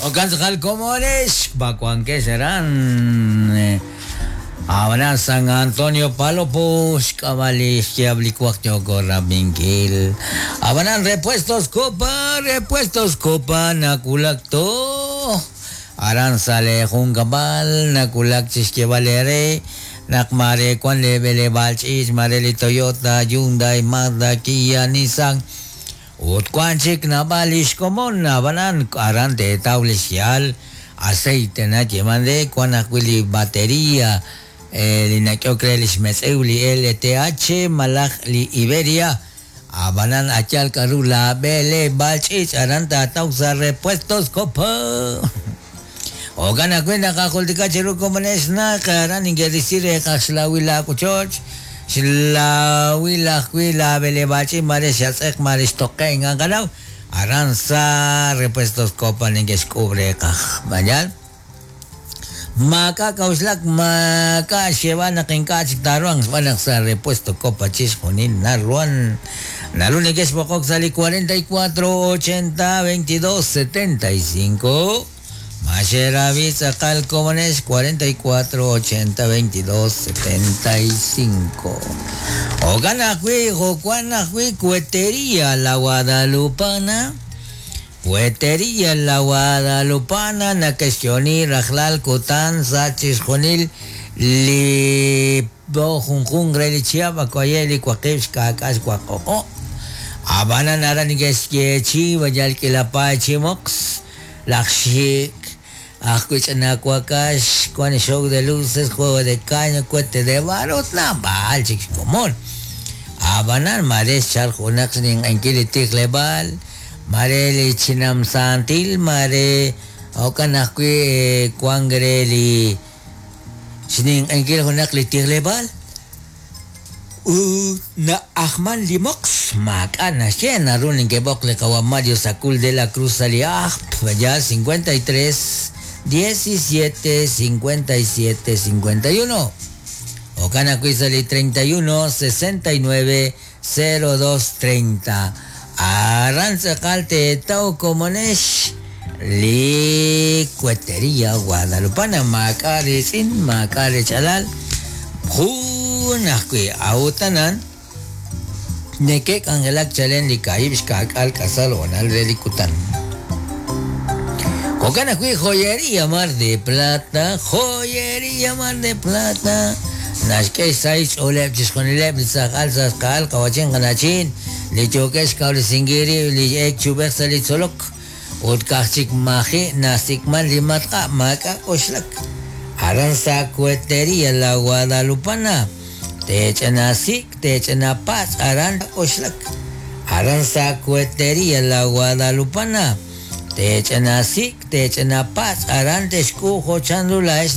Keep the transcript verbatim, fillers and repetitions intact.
Okan tz'aqal komonex bakuankex aran Abana San Antonio Palopo xk'ab'ali xyab'li kwaq yoko rabinkil. Abanan Repuestos Copa, Repuestos Copa nakulak to. Aran sale junkab'al nakulak chixyeb'al ere naq mare kwan le b'eleb'aal ch'iich mare li Toyota, Hyundai, Mazda, Kia, Nissan. Ut kwan chik naab'al li xkomon abanan aran teetaw li xyaal aceite na yeman de kwan ajwi' li batería eh, li nak'ehok re li xmetz'ew li L T H malaj li Iberia. Abanan achal k'aru la b'eleb'aal ch'iich aran taataw sa Repuestos Copa. Okan ajwi' naqajultika chiru komonex naq aran ninke'risi reeqaj xlawil laakochoch xlawil ajwi' la b'eleb'aal ch'iich mare xatz'eq mare xtoqe inqanaw aran sa Repuestos Copa ninke'xk'ub reeqaj mañal maak'a' k'a'uxlak maak'a' xyeeb'al naq ink'a' chik taaruhanq xb'aan naq sa Repuesto Copa chixjunil naruhan naru neke'xb'oqok sa li cuarenta y cuatro ochenta veintidós setenta y cinco. Maxerabi tz'aqal komonex cuarenta y cuatro ochenta veintidós setenta y cinco. Okan ajwi' jo'wan ajwi' Cuetería La Guadalupana. Cuetería La Guadalupana nake'xyoni rajlal kutan sa chixjunil li po junjun re li chihab' akoye li waqib' xka'k'aal xwaqoqo'. Abanan aran neke'xyeechi wayal k'ila paay chi moqs laj xik ajwi' ch'ina wakax kwan show de luces, juego de caña, cohete de barro ut naab'al chik xkomon. Abanan mare xchal junaq xninq'enkil li tijleb'aal mare li chinamsantil mare jo'kan ajwi' wan re li xninq'enkil junaq li tijleb'aal ut na'ajman li moqs maak'a' naxye naru ninke'b'oq li qawa Mario Sacul de la Cruz sa li ajp ya cincuenta y tres diecisiete cincuenta y siete cincuenta y uno. Jo'kan ajwi' sa li treinta y uno sesenta y nueve cero dos treinta. Aran tz'aqal teetaw komonex li Cuetería Guadalupana maak'a' ritz'in maak'a' richalal jun ajwi' awutanan neke'k'anjelak chalen li kaahib' xka'k'aal k'asal honal re li kutan. Jo'kan ajwi' Joyería Mar de Plata, Joyería Mar de Plata naxk'e xsahil xch'ooleb' chixjunileb' li tz'aqal tz'aqal qawachin qanachin li yookeb' xkawresinkil rib' li ek chub'ej sa' li tzolok ut ka'aj chik maji' nasik'man li matq'a' maak'a' k'oxlak aran sa Cuetería La Guadalupana teech'ina sik' teech'ina patz' aran k'oxlak aran sa Cuetería La Guadalupana teech'ina sik' teech'ina patz' aran texk'uj jo' chanru laa'ex.